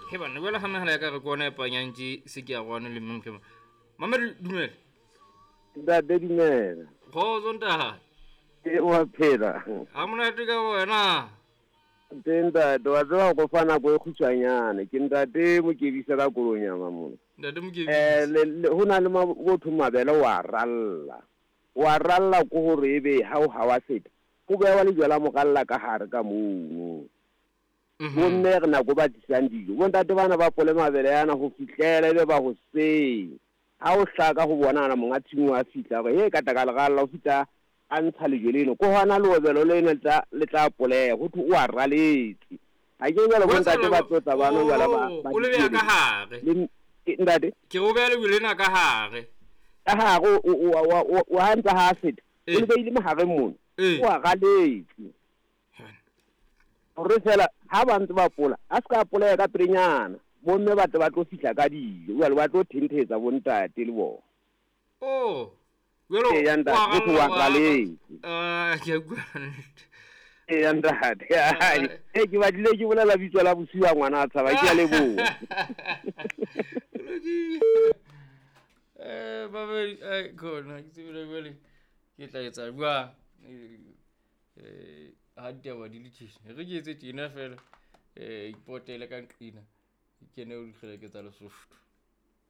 He banna, jwale ga megala ya ka re ke ona e panyang tše se ke ya gone le mme mokema. Mamedi, dumela. Ntate, dumela. Kgotso ntate. E wa phela. Ha monate ka wena. Teng ntate, wa tseba go fa nako e khutshwanyane. Ke ntate Mokebisa ka Kolonyama mona. Ntate Mokebisa. Ho na le motho mabele wa ralla. Wa ralla ko hore ebe ha o ha wa feta. Ho bewa lejwe la moralla ka hare ka mono. Bomme re nako ba tlisang dijo. Bontate bana ba pole mabele yana ho fihlela ebe ba hoseng. Ha o hlaka ho bonana monga tshimo a fihla hore he ka tla ka leralla o fihla a ntsha lejwe leno. Ko hona leobelo leno le tla poleha ho thwe o a raletse. Ha ke jwale bontate ba tlotla bana jwale ba O le beha ka hare. Ntate. Ke o beha lejwe lena ka hare. Ka hare o ha ntsa ha feta. O le beile mahareng mono. O a raletse. Hore fela ha ba ntse ba pola, a se ka poleha ka pelenyana. Bomme ba tle ba tlo fihla ka dijo, jwale ba tlo thentetsa bontate le bona. Oh. Jwale Eya ntate, wa ho thwe wa ralla, raletse. Ah, ke a utlwa nnete. Eya ntate. Ee, ke batlile ke bolela bitso la bosiu a ngwana a tshaba, ke a leboha. Lokile. Babedi, khona ke tsebile jwale ke tla etsa jwang? Ha ditaba di le tjena. Re ke etse tjena fela. Ipotele ka nqina. Ke kene ho dikgeleke tsa Lesotho.